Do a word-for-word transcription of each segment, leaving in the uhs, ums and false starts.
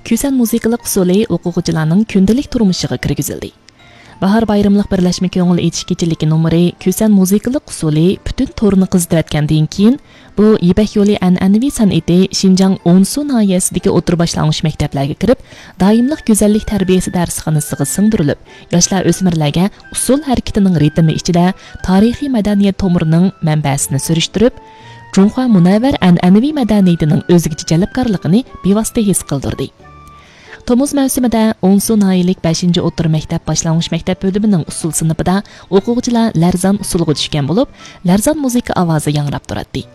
كۈسەن مۇزىكىلىق ئۇسسۇلى ئوقۇغۇچىلارنىڭ كۈندىلىك تۇرمۇشىغا كىرگۈزۈلدى. باھار بايرىملىق بىرلەشمە كۆڭۈل ئېچىش كېچىلىكى نومۇرى كۈسەن مۇزىكىلىق ئۇسسۇلى پۈتۈن تورنى قىزىتىۋەتكەندىن كېيىن، بۇ يىپەك يولى ئەنئەنىۋى سەنئىتى شىنجاڭ ئونسۇ ناھىيەسىدىكى ئوتتۇرا باشلانغۇچ مەكتەپلەرگە كىرىپ، دائىملىق گۈزەللىك تەربىيەسى دەرسخانىسىغا سىڭدۈرۈلۈپ، ياشلار ئۆسمۈرلەرگە ئۇسسۇل ھەرىكىتىنىڭ رىتىمى ئىچىدە تارىخىي مەدەنىيەت تومۇرىنىڭ مەنبەسىنى سۈرۈشتۈرۈپ، جۇڭخۇا مۇنەۋۋەر ئەنئەنىۋى مەدەنىيىتىنىڭ ئۆزگىچە جەلپكارلىقىنى بىۋاسىتە ھېس قىلدۇردى. تومۇز مەۋسۇمىدە ئونسۇ ناھىيەلىك بەشىنچى ئوتتۇرا مەكتەپ باشلانغۇچ مەكتەپ بۆلۈمىنىڭ ئۇسسۇل سىنىپىدا ئوقۇغۇچىلار لەرزان ئۇسسۇلىغا چۈشكەن بولۇپ، لەرزان مۇزىكا ئاۋازى ياڭراپ تۇراتتى.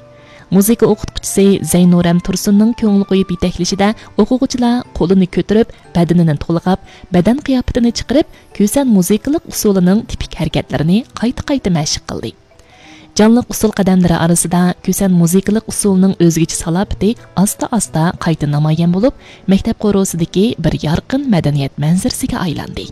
مۇزىكا ئوقۇتقۇچىسى زەينۇرەم تۇرسۇننىڭ كۆڭۈل قويۇپ يېتەكلىشىدە ئوقۇغۇچىلار قولىنى كۆتۈرۈپ، بەدىنىنى تولغاپ، بەدەن قىياپىتىنى چىقىرىپ، كۈسەن مۇزىكىلىق ئۇسسۇلىنىڭ تىپىك ھەرىكەتلىرىنى قايتا-قايتا مەشىق قىلدى. جانلىق ئۇسسۇل قەدەملىرى ئارىسىدا كۈسەن مۇزىكىلىق ئۇسسۇلىنىڭ ئۆزگىچە سالاپىتى ئاستا-ئاستا قايتا نامايان بولۇپ، مەكتەپ قورۇسىدىكى بىر يارقىن مەدەنىيەت مەنزىرىسىگە ئايلاندى.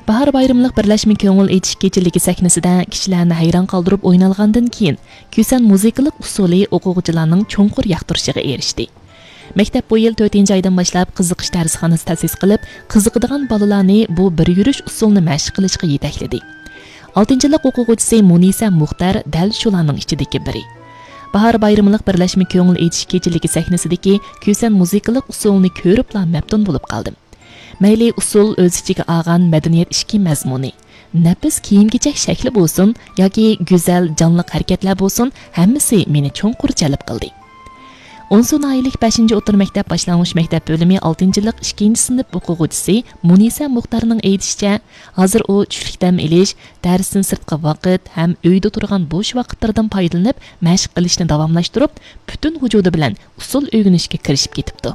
باھار بايرىملىق بىرلەشمە كۆڭۈل ئېچىش كېچىلىكى سەھنىسىدە كىشىلەرنى ھەيران قالدۇرۇپ ئوينالغاندىن كېيىن، كۈسەن مۇزىكىلىق ئۇسسۇلى ئوقۇغۇچىلارنىڭ چوڭقۇر ياقتۇرۇشىغا ئېرىشتى. مەكتەپ بۇ يىل تۆتىنچى ئايدىن باشلاپ قىزىقىش دەرسخانىسى تەسىس قىلىپ، قىزىقىدىغان بالىلارنى بۇ بىر يۈرۈش ئۇسسۇلنى مەشىق قىلىشقا يېتەكلىدى. ئالتىنچى يىللىق ئوقۇغۇچىسى مۇنىسە مۇختەر دەل شۇلارنىڭ ئىچىدىكى بىرى. باھار بايرىملىق بىرلەشمە كۆڭۈل ئېچىش كېچىلىكى سەھنىسىدىكى كۈسەن مۇزىكىلىق ئۇسسۇلنى كۆرۈپلا مەپتۇن بولۇپ قالدىم. مەيلى ئۇسسۇل ئۆز ئىچىگە ئالغان مەدەنىيەت ئىچكى مەزمۇنى، نەپىس كىيىم-كېچەك شەكلى بولسۇن ياكى گۈزەل، جانلىق ھەرىكەتلەر بولسۇن، ھەممىسى مېنى چوڭقۇر جەلپ قىلدى. ئونسۇ ناھىيەلىك بەشىنچى ئوتتۇرا مەكتەپ باشلانغۇچ مەكتەپ بۆلۈمى ئالتىنچى يىللىق ئىككىنچى سىنىپ ئوقۇغۇچىسى مۇنىسە مۇختەرنىڭ ئېيتىشىچە، ھازىر ئۇ چۈشلۈك دەم ئېلىش، دەرستىن سىرتقى ۋاقىت ھەم ئۆيدە تۇرغان بوش ۋاقىتلىرىدىن پايدىلىنىپ مەشىق قىلىشنى داۋاملاشتۇرۇپ، پۈتۈن ۋۇجۇدى بىلەن ئۇسسۇل ئۆگىنىشكە كىرىشىپ كېتىپتۇ.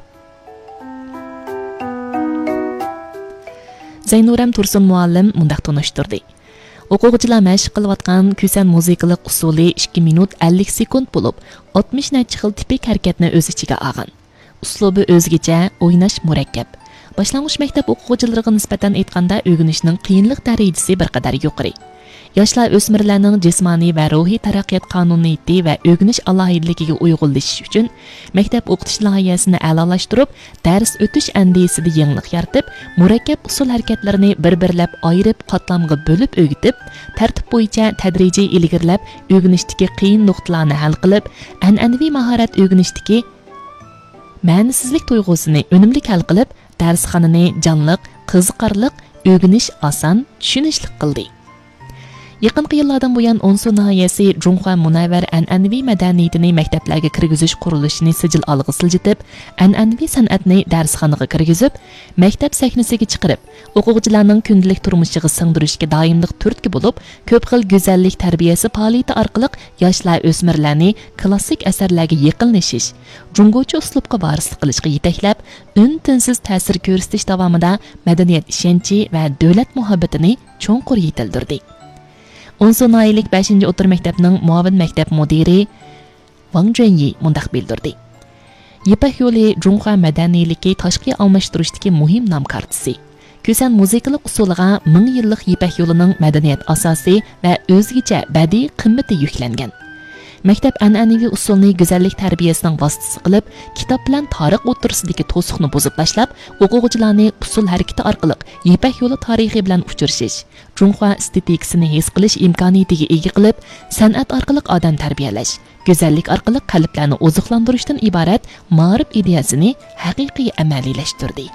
زەينۇرەم تۇرسۇن مۇئەللىم مۇنداق تونۇشتۇردى: ئوقۇغۇچىلار مەشىق قىلىۋاتقان كۈسەن مۇزىكىلىق ئۇسسۇلى ئىككى مىنۇت ئەللىك سېكۇنت بولۇپ، ئاتمىش نەچچە خىل تىپىك ھەرىكەتنى ئۆز ئىچىگە ئالغان. ئۇسلۇبى ئۆزگىچە، ئويناش مۇرەككەپ. باشلانغۇچ مەكتەپ ئوقۇغۇچىلىرىغا نىسبەتەن ئېيتقاندا، ئۆگىنىشنىڭ قىيىنلىق دەرىجىسى بىر قەدەر يۇقىرى. ياشلار ئۆسمۈرلەرنىڭ جىسمانىي ۋە روھىي تەرەققىيات قانۇنىيىتى ۋە ئۆگىنىش ئالاھىدىلىكىگە ئۇيغۇنلىشىش ئۈچۈن، مەكتەپ ئوقۇتۇش لايىھەسىنى ئەلالاشتۇرۇپ، دەرس ئۆتۈش ئەندىزىسىدە يېڭىلىق يارىتىپ، مۇرەككەپ ئۇسسۇل ھەرىكەتلىرىنى بىر-بىرلەپ ئايرىپ، قاتلامغا بۆلۈپ ئۆگىتىپ، تەرتىپ بويىچە تەدرىجىي ئىلگىرىلەپ، ئۆگىنىشتىكى قىيىن نۇقتىلارنى ھەل قىلىپ، ئەنئەنىۋى ماھارەت ئۆگىنىشتىكى مەنىسىزلىك تۇيغۇسىنى ئۈنۈملۈك ھەل قىلىپ، دەرسخانىنى جانلىق، قىزىقارلىق، ئۆگىنىش ئاسان، چۈشىنىشلىك قىلدى. يېقىنقى يىللاردىن بۇيان، ئونسۇ ناھىيەسى جۇڭخۇا مۇنەۋۋەر ئەنئەنىۋى مەدەنىيىتىنى مەكتەپلەرگە كىرگۈزۈش قۇرۇلۇشىنى سىجىل ئالغا سىلجىتىپ، ئەنئەنىۋى سەنئەتنى دەرسخانىغا كىرگۈزۈپ، مەكتەپ سەھنىسىگە چىقىرىپ، ئوقۇغۇچىلارنىڭ كۈندىلىك تۇرمۇشىغا سىڭدۈرۈشكە دائىملىق تۈرتكە بولۇپ، كۆپ خىل گۈزەللىك تەربىيەسى پائالىيىتى ئارقىلىق ياشلار، ئۆسمۈرلەرنى كلاسسىك ئەسەرلەرگە يېقىنلىشىش، جۇڭگوچە ئۇسلۇبقا ۋارىسلىق قىلىشقا يېتەكلەپ، ئۈن-تىنسىز تەسىر كۆرسىتىش داۋامىدا مەدەنىيەت ئىشەنچى ۋە دۆلەت مۇھەببىتىنى چوڭقۇر يېتىلدۈردى. ئونسۇ ناھىيەلىك بەشىنچى ئوتتۇرا مەكتەپنىڭ مۇئاۋىن مەكتەپ مۇدىرى ۋاڭ جۈەنيى مۇنداق بىلدۈردى: يىپەك يولى جۇڭخۇا مەدەنىيلىكى تاشقى ئالماشتۇرۇشتىكى مۇھىم نام كارتىسى. كۈسەن مۇزىكىلىق ئۇسسۇلىغا مىڭ يىللىق يىپەك يولىنىڭ مەدەنىيەت ئاساسى ۋە ئۆزگىچە بەدىئىي قىممىتى يۈكلەنگەن. مەكتەپ ئەنئەنىۋى ئۇسسۇلنى گۈزەللىك تەربىيەسىنىڭ ۋاسىتىسى قىلىپ، كىتاب بىلەن تارىخ ئوتتۇرىسىدىكى توسۇقنى بۇزۇپ تاشلاپ، ئوقۇغۇچىلارنى ئۇسسۇل ھەرىكىتى ئارقىلىق يىپەك يولى تارىخى بىلەن ئۇچرىشىش، جۇڭخۇا ئېستېتىكىسىنى ھېس قىلىش ئىمكانىيىتىگە ئىگە قىلىپ، سەنئەت ئارقىلىق ئادەم تەربىيەلەش، گۈزەللىك ئارقىلىق قەلبلەرنى ئوزۇقلاندۇرۇشتىن ئىبارەت مائارىپ ئىدىيەسىنى ھەقىقىي ئەمەلىيلەشتۈردى.